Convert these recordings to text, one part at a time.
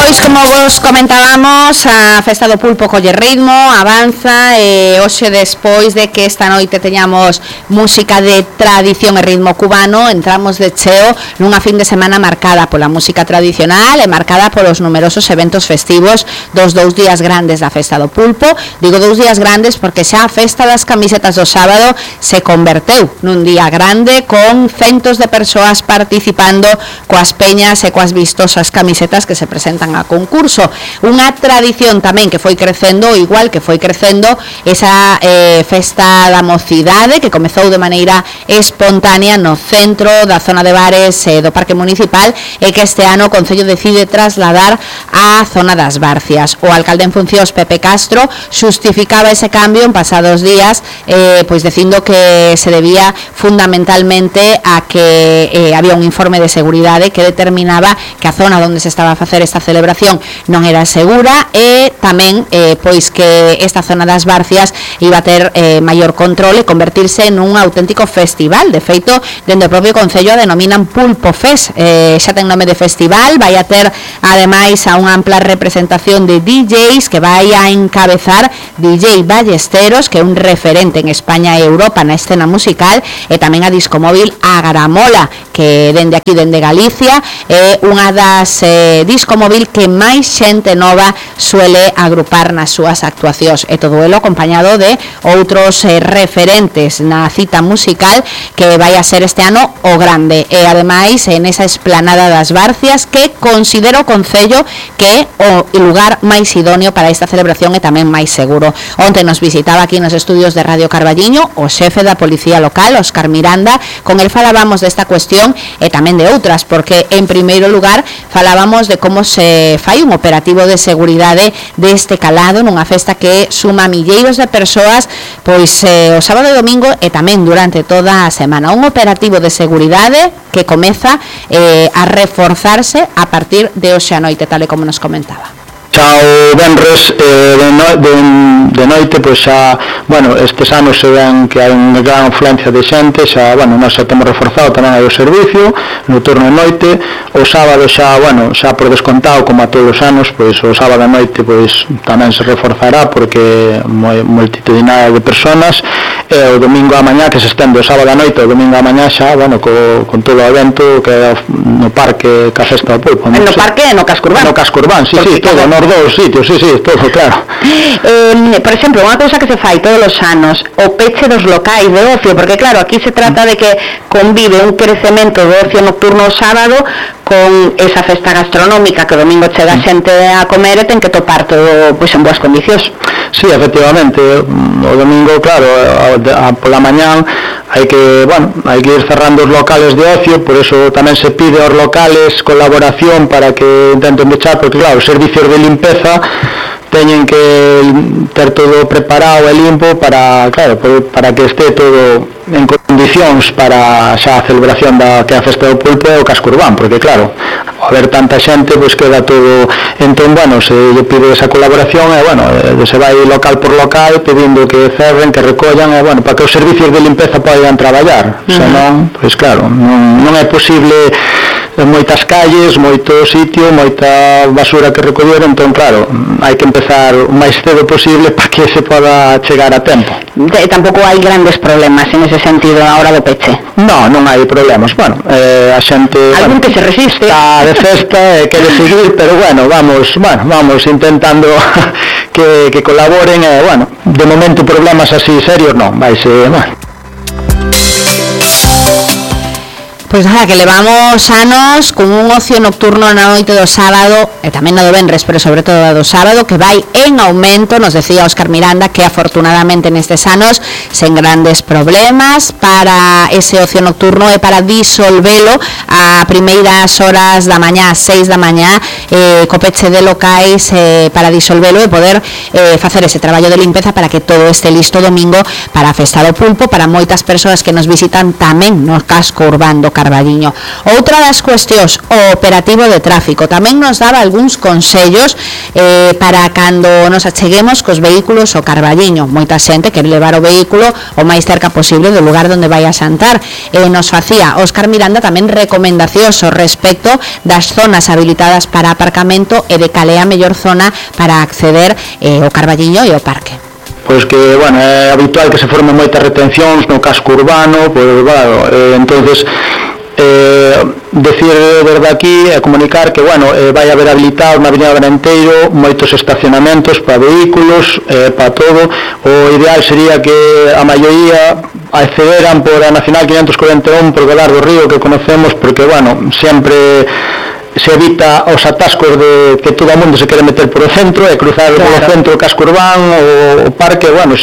Pois como vos comentábamos, a Festa do Pulpo colle ritmo, avanza e hoxe despois de que esta noite teñamos música de tradición e ritmo cubano, entramos de cheo nunha fin de semana marcada pola música tradicional e marcada polos numerosos eventos festivos dos 2 días grandes da Festa do Pulpo. Digo 2 días grandes porque xa a Festa das Camisetas do sábado se converteu nun día grande con centos de persoas participando coas peñas e coas vistosas camisetas que se presentan a concurso. Unha tradición tamén que foi crecendo, igual que foi crecendo esa festa da mocidade que comezou de maneira espontánea no centro da zona de bares do Parque Municipal e que este ano o Concello decide trasladar á zona das Barcias. O alcalde en funcións, Pepe Castro, xustificaba ese cambio en pasados días pois dicindo que se debía fundamentalmente a que había un informe de seguridade que determinaba que a zona onde se estaba a facer esta celebración non era segura e tamén pois que esta zona das Barcias iba a ter maior control e convertirse nun auténtico festival. De feito, dende o propio Concello a denominan Pulpo Fest, xa ten nome de festival, vai a ter ademais a unha ampla representación de DJs que vai a encabezar DJ Ballesteros, que é un referente en España e Europa na escena musical, e tamén a discomóvil Agaramola, que dende aquí, dende Galicia, é unha das discomóvil que máis xente nova suele agrupar nas súas actuacións, e todo elo acompañado de outros referentes na cita musical que vai a ser este ano o grande, e ademais en esa esplanada das Barcias que considero o Concello que é o lugar máis idóneo para esta celebración e tamén máis seguro. Onte nos visitaba aquí nos estudios de Radio Carballiño o xefe da Policía Local, Óscar Miranda, con el falábamos desta cuestión e tamén de outras, porque en primeiro lugar falábamos de como se fai un operativo de seguridade deste calado nunha festa que suma milleiros de persoas pois o sábado e domingo e tamén durante toda a semana. Un operativo de seguridade que comeza a reforzarse a partir de hoxe a noite, tal e como nos comentaba. Xa o venres de noite, pois xa, bueno, estes anos se ven que hai unha gran afluencia de xente, xa, bueno, nós xa temos reforzado tamén aí o servicio, no turno de noite, o sábado xa, bueno, xa por descontado, como a todos os anos, pois o sábado a noite, pois tamén se reforzará, porque multitudinaria de personas, e o domingo a mañá, que se estende o sábado a noite, o domingo a mañá xa, bueno, con todo o evento, que é no parque, que a Festa do Pulpo. No parque e no Casco Urbán. No Casco Urbán, sí, sí, todo, nos dous sitios, sí, todo, claro. Por exemplo, unha cousa que se fai todos os anos, o peche dos locais de ocio, porque claro, aquí se trata de que convive un crecemento do ocio nocturno o sábado con esa festa gastronómica que o domingo chega xente a comer e ten que topar todo pois en boas condicións. Sí, efectivamente, o domingo, claro, pola mañán hai que ir cerrando os locales de ocio, por eso tamén se pide aos locales colaboración para que intenten pechar, porque claro, os servicios de limpeza teñen que ter todo preparado e limpo para, claro, para que este todo en condicións para xa a celebración da que a Festa do Pulpo é o Casco Urbán, porque claro, ao haber tanta xente, pois queda todo, entón, bueno, se lle pide esa colaboración e, bueno, se vai local por local pedindo que cerren, que recollan, e, bueno, para que os servicios de limpeza podan traballar, senón, pois claro, non é posible moitas calles, moito sitio, moita basura que recoller, entón, claro, hai que empezar o máis cedo posible para que se poda chegar a tempo. Tampouco hai grandes problemas en ese sentido a hora do peche? Non hai problemas, bueno, a xente... Algún que se resiste? Está de festa e quere seguir, pero bueno, vamos intentando que colaboren e, bueno, de momento problemas así serios non, vaise, bueno. Pois nada, que levamos anos con un ocio nocturno na noite do sábado e tamén no do venres, pero sobre todo do sábado, que vai en aumento. Nos decía Óscar Miranda que afortunadamente nestes anos sen grandes problemas para ese ocio nocturno e para disolvelo a primeiras horas da mañá, 6 da mañá, co peche de locais para disolvelo e poder facer ese traballo de limpeza para que todo este listo domingo para a Festa do Pulpo, para moitas persoas que nos visitan tamén no Casco Urbán do Carballiño. Outra das cuestións, o operativo de tráfico, tamén nos daba algúns consellos para cando nos acheguemos cos vehículos ao Carballiño. Moita xente quere levar o vehículo o máis cerca posible do lugar onde vai a xantar. Nos facía Óscar Miranda tamén recomendacións ao respecto das zonas habilitadas para aparcamento e de cal é a mellor zona para acceder ao Carballiño e ao parque. Pois que, bueno, é habitual que se formen moitas retencións no casco urbano, pois, bueno, entonces decir desde aquí e comunicar que, bueno, vai haber habilitados na Avenida Varenteiro moitos estacionamentos para vehículos, para todo. O ideal sería que a maioría accederan por a Nacional 541 por Velar do Río, que conocemos, porque, bueno, sempre se evita os atascos de que todo o mundo se quere meter por o centro e cruzar por o centro o casco urbano, o parque. Bueno,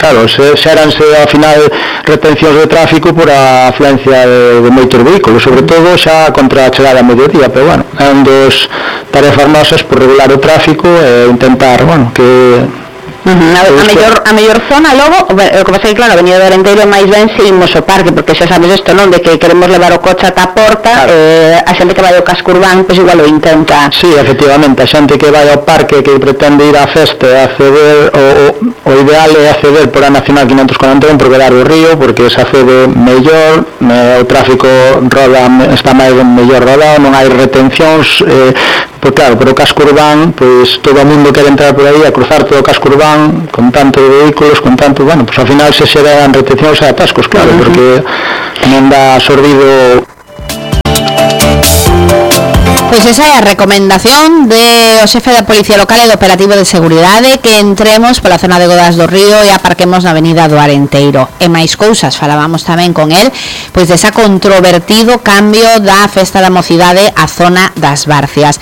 claro, xeranse ao final retencións de tráfico por a afluencia de moitos vehículos, sobre todo xa contra a chegada a mediodía, pero, bueno, é un dos tarefas nosas por regular o tráfico e intentar, bueno, que a mellor zona logo, o que pasa é que, claro, a Avenida do Arenteiro máis ben se imos ao parque, porque xa sabes isto, non, de que queremos levar o coche ata a porta, claro. A xente que vai ao casco urbano, pois igual o intenta. Sí, efectivamente, a xente que vai ao parque, que pretende ir á festa e acceder, o ideal é acceder por a Nacional 541 por Velar do Río, porque se accede mellor, o tráfico está máis mellor rodado, non hai retencións, pois claro, por o casco urbano, pois todo o mundo quere entrar por aí a cruzar todo o casco urbano con tanto vehículos, con tanto, bueno, pues ao final se xeran retencións e atascos, claro, porque non dá sorbido. Pois esa é a recomendación do xefe da Policía Local e do Operativo de Seguridade, que entremos pola zona de Godas do Río e aparquemos na Avenida do Arenteiro. E máis cousas, falábamos tamén con el, pois desa controvertido cambio da Festa da Mocidade á zona das Barcias.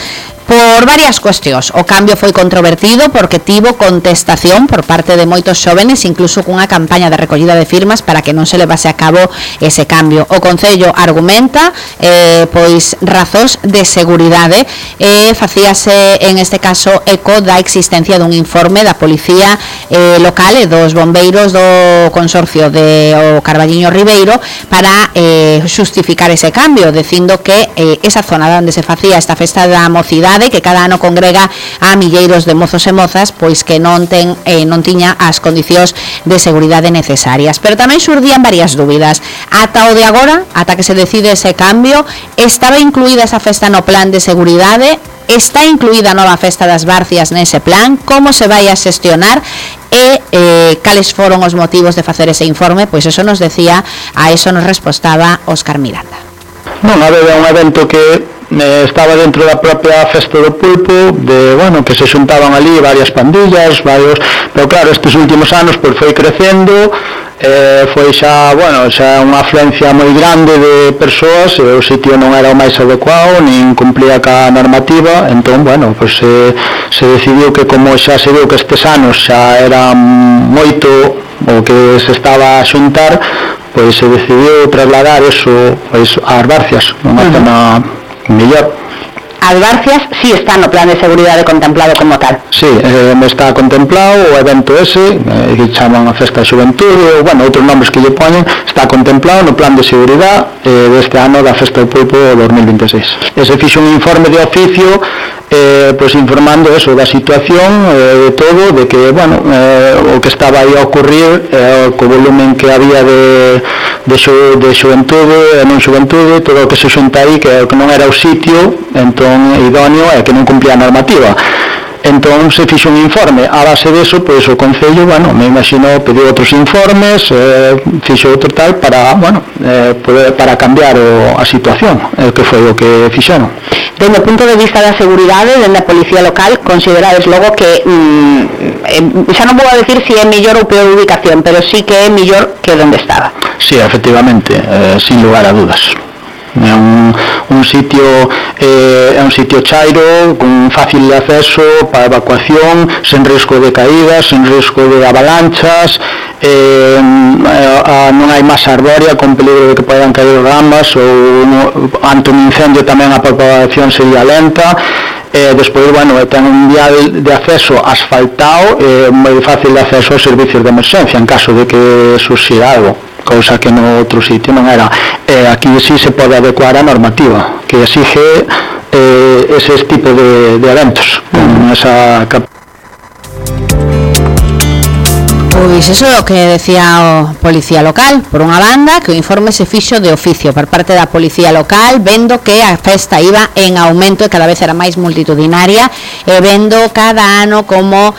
Por varias cuestións. O cambio foi controvertido porque tivo contestación por parte de moitos xóvenes, incluso cunha campaña de recollida de firmas para que non se levase a cabo ese cambio. O Concello argumenta pois razóns de seguridade e facíase en este caso eco da existencia dun informe da Policía Local e dos bombeiros do Consorcio de o Carballiño Ribeiro para xustificar ese cambio, dicindo que esa zona onde se facía esta festa da mocidade, que cada ano congrega a milleiros de mozos e mozas, pois que non tiña as condicións de seguridade necesarias. Pero tamén xurdían varias dúbidas. Ata o de agora, ata que se decide ese cambio, estaba incluída esa festa no plan de seguridade? Está incluída a nova festa das Barcias nese plan? Como se vai a xestionar? E cales foron os motivos de facer ese informe? Pois eso nos decía, a eso nos respostaba Óscar Miranda. Non, había un evento que estaba dentro da propia Festa do Pulpo, bueno, que se xuntaban ali varias pandillas, pero claro, estes últimos anos pois foi crecendo, foi xa unha afluencia moi grande de persoas, e o sitio non era o máis adecuado, nin cumplía ca normativa, entón, bueno, pois se decidiu que, como xa se viu que estes anos xa era moito o que se estaba a xuntar, pois se decidiu trasladar eso pois ás Barcias, unha zona mellor. As Barcias si está no plan de seguridade contemplado como tal. Sí, está contemplado o evento ese, que chaman a Festa de Xuventude, ou, bueno, outros nombres que lle poñen, está contemplado no plan de seguridade deste ano da Festa do Pulpo 2026. Se fixo un informe de oficio pois informando eso da situación, de todo, de que, bueno, o que estaba aí a ocurrir, co volumen que había de xuventude e non xuventude, todo o que se xunta aí, que non era o sitio entón idóneo e que non cumplía a normativa. Entón se fixo un informe. A base deso, pois o Concello, bueno, me imagino, pediu outros informes, fixo outro tal para, bueno, para cambiar a situación, que foi o que fixeron. Dende o punto de vista da seguridade, dende a Policía Local, considerades logo que xa non vou a decir se é mellor ou peor ubicación, pero sí que é mellor que onde estaba. Sí, efectivamente, sin lugar a dudas. É un sitio chairo, con fácil de acceso para evacuación, sen risco de caídas, sen risco de avalanchas, non hai masa arbórea con peligro de que podan caer ramas, ou ante un incendio tamén a propagación sería lenta. Despois, bueno, ten un vial de acceso asfaltado, moi fácil de acceso aos servicios de emerxencia en caso de que surxira algo. cousa que no outro sitio non era. Aquí sí se pode adecuar a normativa que exige eses tipos de eventos con esa capacidade. Pois iso é o que decía o policía local. Por unha banda, que o informe se fixo de oficio por parte da policía local, vendo que a festa iba en aumento e cada vez era máis multitudinaria, e vendo cada ano como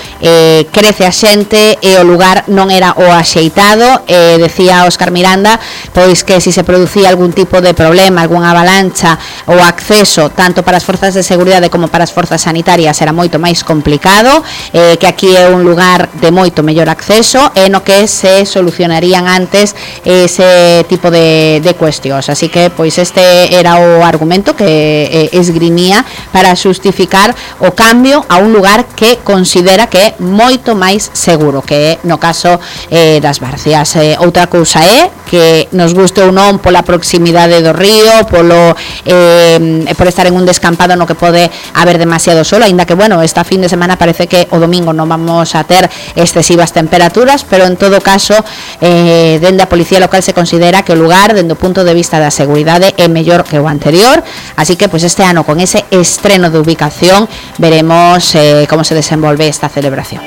crece a xente e o lugar non era o axeitado. Decía Óscar Miranda pois que se producía algún tipo de problema, algunha avalancha, o acceso tanto para as forzas de seguridade como para as forzas sanitarias era moito máis complicado, que aquí é un lugar de moito mellor acceso e no que se solucionarían antes ese tipo de cuestións. Así que pois este era o argumento que esgrimía para xustificar o cambio a un lugar que considera que é moito máis seguro, que é no caso das Barcias. Outra cousa é que nos guste ou non pola proximidade do río, por estar en un descampado no que pode haber demasiado sol, aínda que bueno, esta fin de semana parece que o domingo non vamos a ter excesivas temperaturas, pero en todo caso dende a policía local se considera que o lugar dende o punto de vista da seguridade é mellor que o anterior, así que pues este ano con ese estreno de ubicación veremos como se desenvolve esta celebración.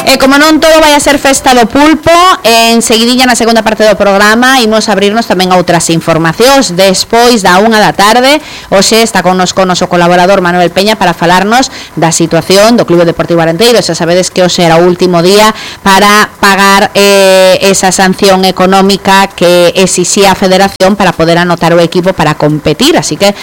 E como non todo vai a ser festa do pulpo, en seguidilla na segunda parte do programa imos abrirnos tamén a outras informacións. Despois da 1 da tarde, hoxe está connosco o noso colaborador Manuel Peña para falarnos da situación do Clube Deportivo Arenteiro. Xa sabedes que hoxe era o último día para pagar esa sanción económica que exixía a Federación para poder anotar o equipo para competir, así que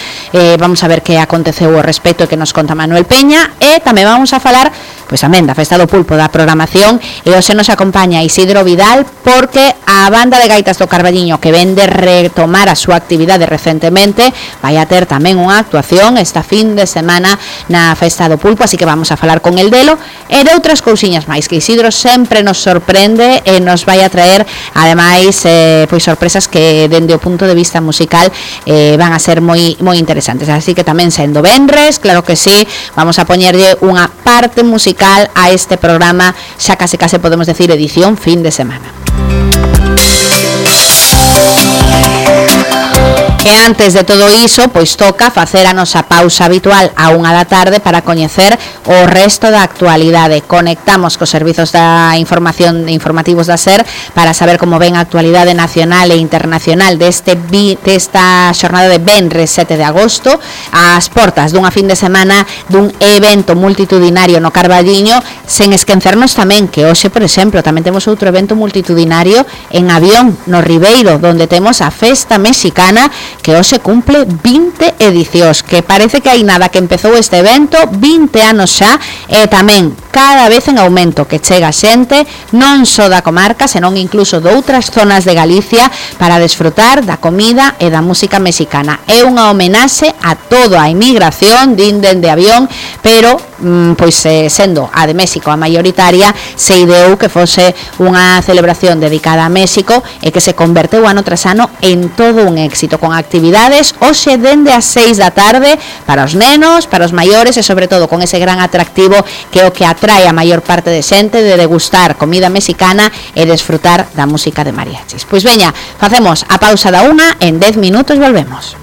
vamos a ver que aconteceu ao respecto e que nos conta Manuel Peña, e tamén vamos a falar pois tamén da festa do pulpo, da programación, e hoxe nos acompaña Isidro Vidal porque a banda de gaitas do Carballiño, que ven de retomar a súa actividade recentemente, vai a ter tamén unha actuación esta fin de semana na festa do pulpo, así que vamos a falar con el delo e de outras cousiñas máis, que Isidro sempre nos sorprende e nos vai a traer ademais pois sorpresas que dende o punto de vista musical van a ser moi interesantes, así que tamén sendo venres, claro que sí, vamos a poñerlle unha parte musical a este programa, xa case podemos decir edición fin de semana. E antes de todo iso, pois toca facer a nosa pausa habitual a 1 da tarde para coñecer o resto da actualidade. Conectamos cos servizos da información informativos da SER para saber como ven a actualidade nacional e internacional desta xornada de venres 7 de agosto, ás portas dunha fin de semana dun evento multitudinario no Carballiño, sen esquecernos tamén que hoxe, por exemplo, tamén temos outro evento multitudinario en Avión, no Ribeiro, donde temos a Festa Mexicana, que hoxe cumple 20 edicións, que parece que hai nada que empezou este evento, 20 anos xa, e tamén cada vez en aumento, que chega xente non só da comarca, senón incluso de outras zonas de Galicia para desfrutar da comida e da música mexicana. É unha homenaxe a toda a inmigración dende Avión, pero pois sendo a de México a maioritaria, se ideou que fose unha celebración dedicada a México e que se converteu ano tras ano en todo un éxito, con actividades hoxe dende as 6 da tarde para os nenos, para os maiores e sobre todo con ese gran atractivo que é o que atrae a maior parte de xente, de degustar comida mexicana e desfrutar da música de mariachis. Pois veña, facemos a pausa da 1, en 10 minutos volvemos.